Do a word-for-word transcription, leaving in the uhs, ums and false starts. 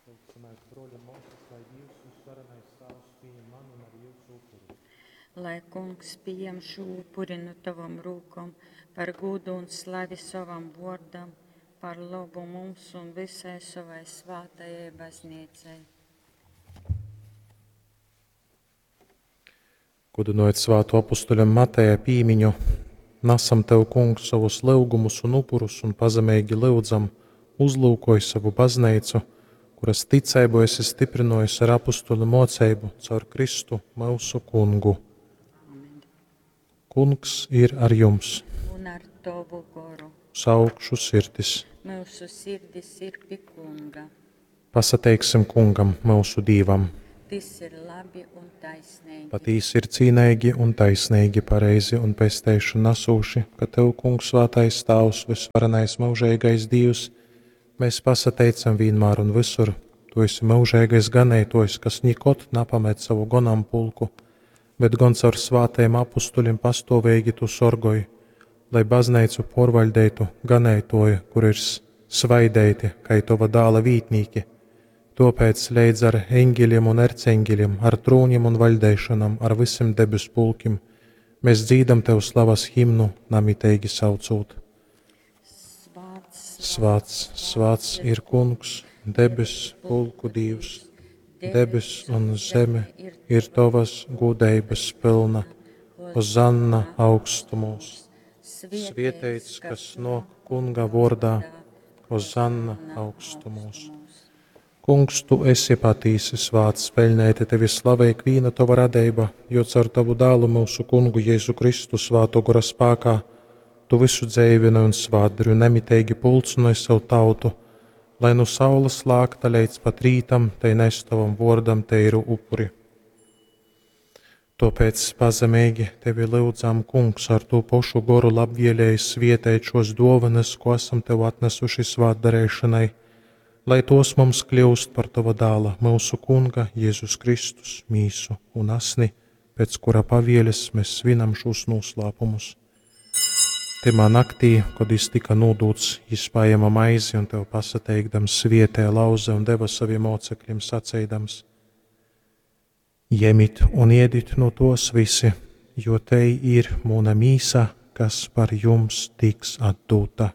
Lūgsimēs, bruoļi un muosys, lai Dīvs, Vysvarenais Tāvs, pījem manu un arī jyusu upuri. Lai Kungs pieņem šo upuri no tavam rūkom par gūdu un slavi sovam vārdam, par labu mums un visai savai svātajai baznīcai. Gudynojot svāto apustuļa Mateja pīmiņu, nasam Tev, Kungs, sovus lyugumus un upurus un pazemeigi lyudzam, uzlūkoj savu bazneicu, kuras ticeibu esi stiprynojis ar apustuļu moceibu caur Kristu myusu Kungu. Amen. Kungs ir ar jums! Un ar tavu goru. Uz augšu sirdis! Mūsu sirdis ir pie Kunga. Pasateiksim Kungam, myusu Dīvam! Tas ir labi un taisnīgi. Patīsi ir cīneigi un taisnīgi, pareizi un pesteišanu nasūši, ka Tev, Kungs, svātais Tāvs, vysvarenais myužeigais Dīvs, mēs pasateicam vienmēr un visur. Tu esi myužeigais ganeitojs, kas nikod napamet savu gonampulku, bet gon caur svātajiem apustuļiem pastuoveigi tu sorgoj, lai bazneicu porvaļdeitu ganeitoji, kur ir svaideiti, kai tova dāla vītnīki. Topēc leidz ar eņģeļiem un erceņģeļiem, ar trūņiem un vaļdeišanām, ar visiem debes pulkim, mēs dzīdam Tev slavas himnu, namiteigi saucūt. Svāts, Svāts, svāts ir Kungs, debes pulku Dīvs. Debes un zeme ir Tavas gūdeibas pilna. Hozanna augstumos. Svieteits, kas nok Kunga vordā. Hozanna augstumos. Kungs, tu esi patīsi svāts, peļnēti tevi slavē ikvīna tova radeiba, jo caur tavu dālu myusu Kungu Jēzu Kristu svāto gora spākā tu visu dzeivini un svātdari un nemiteigi pulcinoj savu tautu, lai nu saules lākta leidz pat rītam, tai nes tavam vōrdam teiru upuri. Tōpēc pazemeigi tevi lyudzam, Kungs, ar tū pošu goru labvēlēji svietēt šos dōvanas, ko esam tev atnesuši svātdarēšanai, lai tos mums kļūst par tava dāla, myusu Kunga Jēzus Kristus, mīsu un asni, pēc kura pavieles mēs svinam šos noslēpumus. Tymā naktī, kad jis tika nūdūts, jis paēma maizi un tev pasateikdams svietēja lauze un deva saviem mocekļiem saceidams: Jemit un iedit no tos visi, jo te ir muna mīsa, kas par jums tiks atdūta.